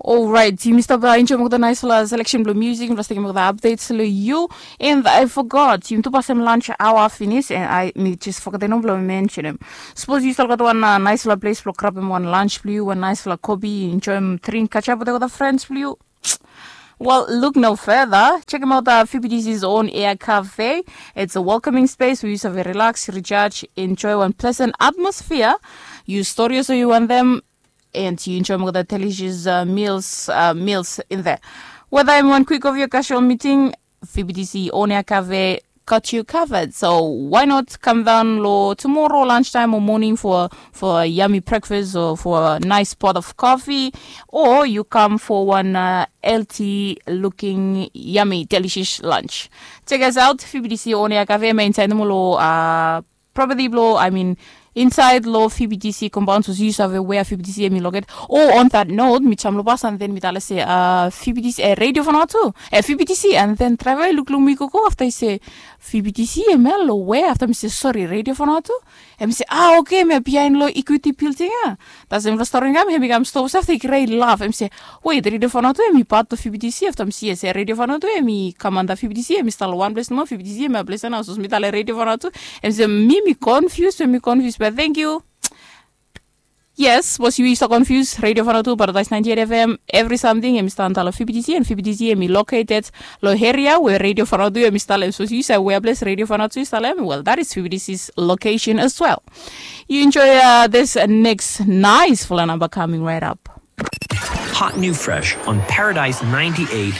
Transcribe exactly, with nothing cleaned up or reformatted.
Orait, yumi stap enjoim olgeta naisfala seleksen blong musik, yumi stap tekim olgeta updates long yu. And I forgot, yumi tu pasem lunch hour finis, and I mi jes fogetem nomo blong mensenim. Sapos yu stap gat wan naisfala ples blong grabem wan lunch blong yu, wan naisfala kopi, enjoim dring, catch up wetem olgeta friends blong yu. Well, look no further. Check him out, uh, F B T C's own Air Cafe. It's a welcoming space where you save relax, recharge, enjoy one pleasant atmosphere. You stories you want them, and you enjoy more the delicious uh, meals uh, meals in there. Whether in one quick of your casual meeting, F B T C own Air Cafe got you covered. So why not come down lo tomorrow lunchtime or morning for for a yummy breakfast or for a nice pot of coffee, or you come for one uh, healthy looking yummy delicious lunch. Check us out, F B T C on Air Cafe, hemi inside nomo lo uh, property blo, I mean, inside lo F B T C compound, so yu save where F B T C hemi located. Oh, on that note, mi jam lo bus and then mi tale se uh, F B T C, eh, Radio Vanuatu, eh, F B T C, and then driver i lukluk mi gogo afta i se F B T C hemia lo where, afta mi se sorry, Radio Vanuatu. Hemi se ah, okay, hemia bihain lo Equity Building ia. Tasem lo stori nao hemi kam stop se afta i krai laf, hemi se wait, Radio Vanuatu hemi pat lo F B T C? Afta mi se yes, Radio Vanuatu hemi kam anda F B T C, hemi stap lo wan ples nomo, F B T C hemia ples ia nao. Sapos mi tale Radio Vanuatu, hemi se mi mi confuse, mi confuse, but thank you. Yes, sapos yu i stap confuse, Radio Vanuatu, Paradise ninety-eight F M, evri samting hemi stap antap lo F B T C, and F B T C hemi located lo area where Radio Vanuatu hemi stap lo. Sapos yu save where ples Radio Vanuatu i stap lo, well, that is F B T C's location as well. You enjoy uh, this next nice fala namba coming right up. Hot new fresh on Paradise ninety-eight.